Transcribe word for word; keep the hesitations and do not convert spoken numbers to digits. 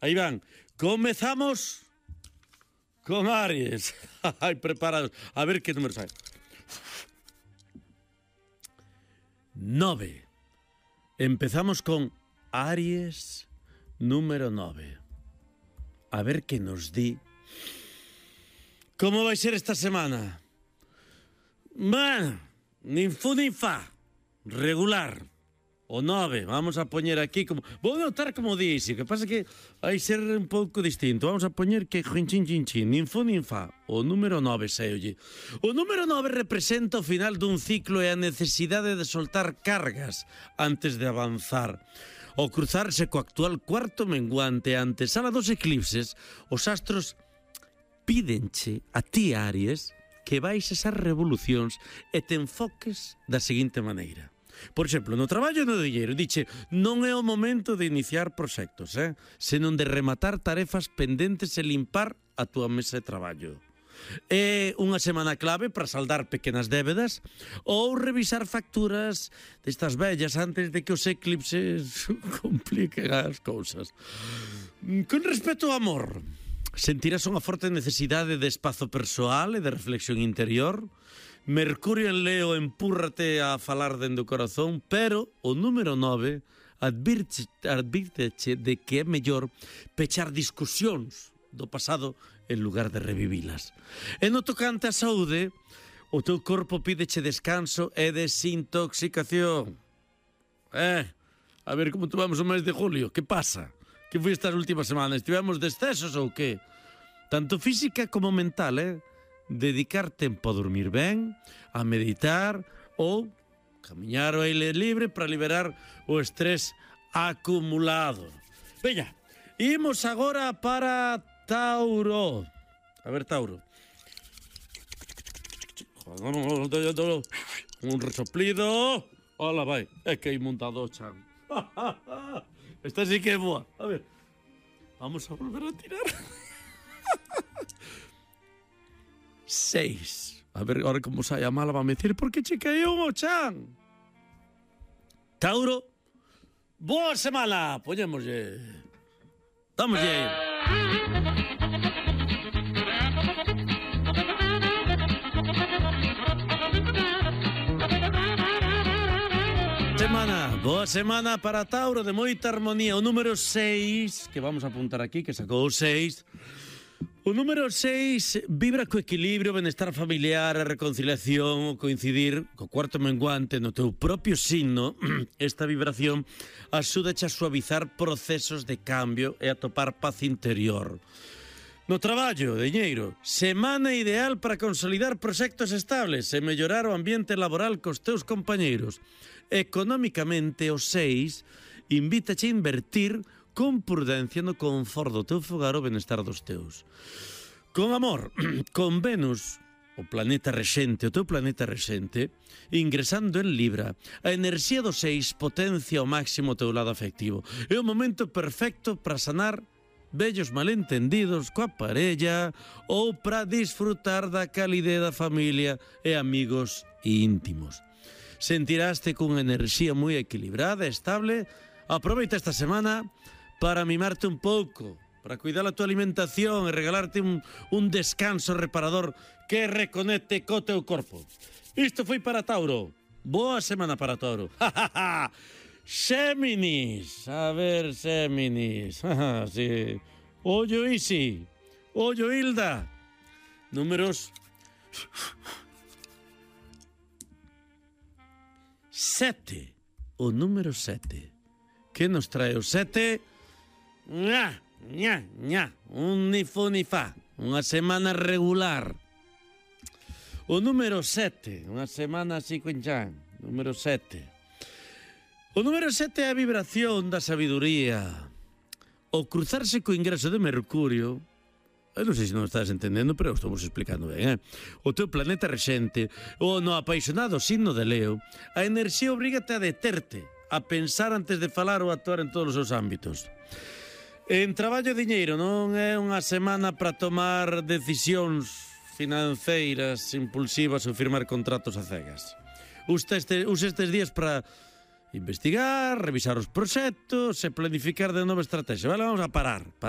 Aí van. Comezamos con Aries. Ai, preparados. A ver que número sai. Nove. Empezamos con Aries número nove. A ver que nos di. Como vai ser esta semana? Bueno, nin fu nin fa. Regular. O nove, vamos a poñer aquí como... Vou notar como dixe, que pasa que vai ser un pouco distinto. Vamos a poñer que chin chin chin chin, nin fu nin fa. O número nove seolle. O número nove representa o final dun ciclo e a necesidade de soltar cargas antes de avanzar. Ao cruzarse co actual cuarto menguante ante sala dos eclipses, os astros pídenche a ti, Aries, que vais esas revolucións e te enfoques da seguinte maneira. Por exemplo, no traballo no diñeiro, diche, non é o momento de iniciar proxectos, eh? senón de rematar tarefas pendentes e limpar a túa mesa de traballo. É unha semana clave para saldar pequenas débedas ou revisar facturas destas vellas antes de que os eclipses compliquen as cousas. Con respecto ao amor, sentirás unha forte necesidade de espazo persoal e de reflexión interior. Mercurio en Leo empúrrate a falar dende o corazón, pero o número nove advírteche de que é mellor pechar discusións do pasado en lugar de revivilas. E no tocante á saúde, o teu corpo pídeche descanso e desintoxicación. Eh, a ver como tomamos o mes de julio, que pasa? Que foi estas últimas semanas? Estivemos de excesos ou que? Tanto física como mental, eh? Dedicar tempo a dormir ben, a meditar ou camiñar ao aire libre para liberar o estrés acumulado. Veña, imos agora para Tauro. A ver, Tauro. Un resoplido. Ola, vai. É que hai montado o chan. Esta sí que é boa. A ver. Vamos a volver a tirar. Seis. A ver, ahora como sai a mala va a me decir por que che caeu o chan. Tauro, boa semana. Poñémoslle. Dámoslle. Semana, boa semana para Tauro, de moita armonía. O número seis, que vamos a apuntar aquí, que sacou o seis. O número seis vibra co equilibrio, benestar familiar, a reconciliación, o coincidir co cuarto menguante no teu propio signo. Esta vibración axúdache a suavizar procesos de cambio e a topar paz interior. No traballo, diñeiro, semana ideal para consolidar proxectos estables e mellorar o ambiente laboral cos teus compañeiros. Económicamente, o seis invítache a invertir con prudencia no confort do teu fogar o benestar dos teus. Con amor, con Venus, o planeta rexente, o teu planeta rexente, ingresando en Libra, a enerxía do seis potencia ao máximo o teu lado afectivo. É o momento perfecto para sanar vellos malentendidos coa parella ou para disfrutar da calidez da familia e amigos íntimos. Sentiraste cunha enerxía moi equilibrada e estable. Aproveita esta semana para mimarte un pouco, para cuidar a tua alimentación e regalarte un, un descanso reparador que reconecte co teu corpo. Isto foi para Tauro. Boa semana para Tauro. Xéminis. A ver, Xéminis. Sí. Ollo Isi. Ollo Hilda. Números... Sete. O número sete. Que nos trae o sete? Ña, ña, ña. Un ni fu ni fa. Unha semana regular. O número sete. Unha semana así con chan. Número sete. O número sete é a vibración da sabiduría. O cruzarse co ingreso de Mercurio... Eu non sei se non estás entendendo, pero estamos explicando ben, eh? O teu planeta rexente, o no apaixonado signo de Leo, a enerxía obrígate a deterte, a pensar antes de falar ou actuar en todos os seus ámbitos. En traballo e diñeiro non é unha semana para tomar decisións financeiras impulsivas ou firmar contratos a cegas. Usa este, usa estes días para investigar, revisar os proxectos e planificar de nova estrategia. Vale, vamos a parar.